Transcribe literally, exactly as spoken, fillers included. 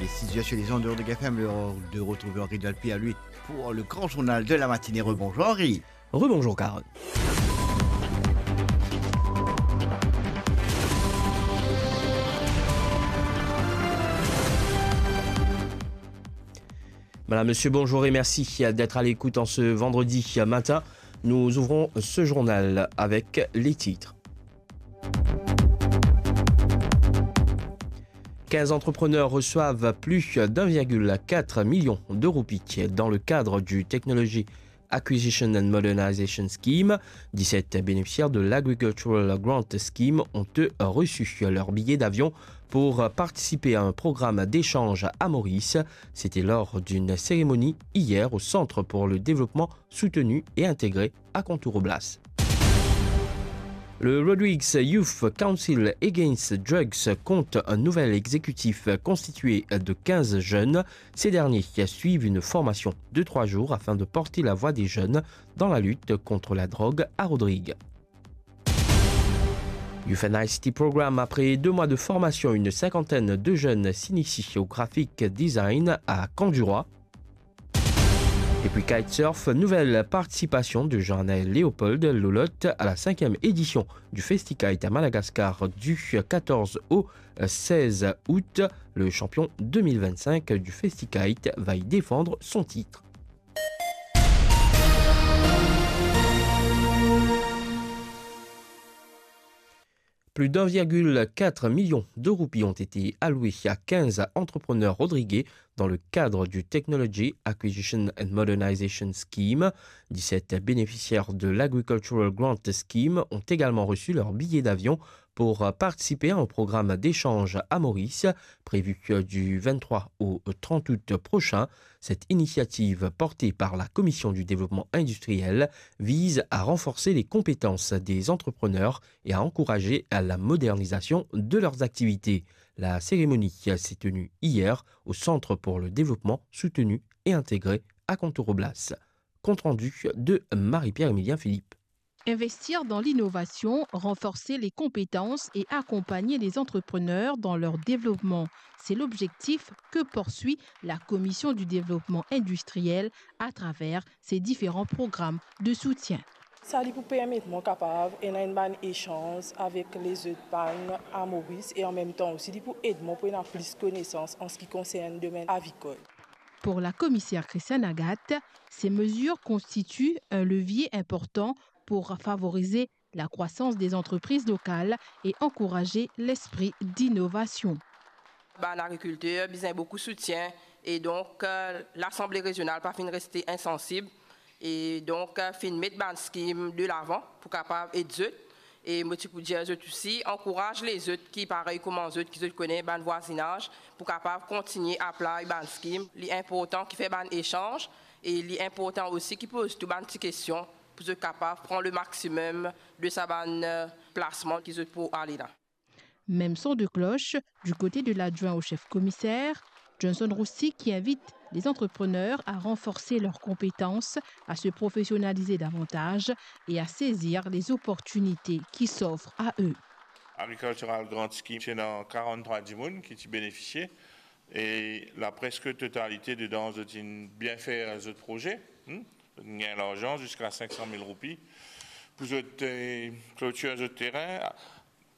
Six heures sur les ondes de Rodoc F M, l'heure de retrouver Henri Delpy à lui pour le grand journal de la matinée. Rebonjour Henri. Rebonjour Carole. Madame, Monsieur, bonjour et merci d'être à l'écoute en ce vendredi matin. Nous ouvrons ce journal avec les titres. Quinze entrepreneurs reçoivent plus d'un virgule quatre million de roupies dans le cadre du Technology Acquisition and Modernization Scheme. Dix-sept bénéficiaires de l'Agricultural Grant Scheme ont, eux, reçu leur billet d'avion pour participer à un programme d'échange à Maurice. C'était lors d'une cérémonie hier au Centre pour le développement soutenu et intégré à Contour Oblas. Le Rodrigues Youth Council Against Drugs compte un nouvel exécutif constitué de quinze jeunes. Ces derniers suivent une formation de trois jours afin de porter la voix des jeunes dans la lutte contre la drogue à Rodrigues. Youth and I C T Programme, après deux mois de formation, une cinquantaine de jeunes s'initient au graphic design à Camp du Roi. Et puis kitesurf, nouvelle participation de Jean-Anaël Léopold Lolotte à la cinquième édition du Festikite à Madagascar du quatorze au seize août. Le champion deux mille vingt-cinq du Festikite va y défendre son titre. Plus d'un virgule quatre million de roupies ont été allouées à quinze entrepreneurs rodriguais dans le cadre du Technology Acquisition and Modernization Scheme. Dix-sept bénéficiaires de l'Agricultural Grant Scheme ont également reçu leur billet d'avion pour participer à un programme d'échange à Maurice, prévu du vingt-trois au trente août prochain. Cette initiative, portée par la Commission du développement industriel, vise à renforcer les compétences des entrepreneurs et à encourager la modernisation de leurs activités. La cérémonie s'est tenue hier au Centre pour le développement soutenu et intégré à Contour Oblas. Compte rendu de Marie-Pierre-Emilien Philippe. Investir dans l'innovation, renforcer les compétences et accompagner les entrepreneurs dans leur développement, c'est l'objectif que poursuit la Commission du développement industriel à travers ses différents programmes de soutien. Sa li pou permet mwa kapav ena enn bann echanz avek lezot bann a Moris e an mem tan osi li pou ed mwa pou ena plis konesans an seki konsern domenn avicole. Pour la commissaire Christiane Agathe, ces mesures constituent un levier important pour favoriser la croissance des entreprises locales et encourager l'esprit d'innovation. Bann agrikilter bizin boukou soutien e donk, euh, Lasanble Rezional pa finn reste insansib e donk, euh, finn met bann skim de lavan pou kapav ed zot. E mo ti pou dir zot osi, ankouraz lezot ki parey kouma zot, ki zot kone bann vwazinaz, pou kapav kontigne apply bann skim. Li inportan ki fer bann esanz e li inportan osi ki poz tou bann ti kestion pou zot kapav pran le maximum de sa bann, euh, plasman ki zot pou ale la. Même son de cloche du côté de l'adjoint au chef commissaire, Johnson Roussy, qui invite les entrepreneurs à renforcer leurs compétences, à se professionnaliser davantage et à saisir les opportunités qui s'offrent à eux. Agricultural Grant Scheme, ti ena karant-trwa dimoun ki ti benefisie e la preske totalite dedan zot inn bien fer zot proze, hmm? Zot inn gagn larzan ziska sink san mil roupi pou zot, eh, klotir zot terin.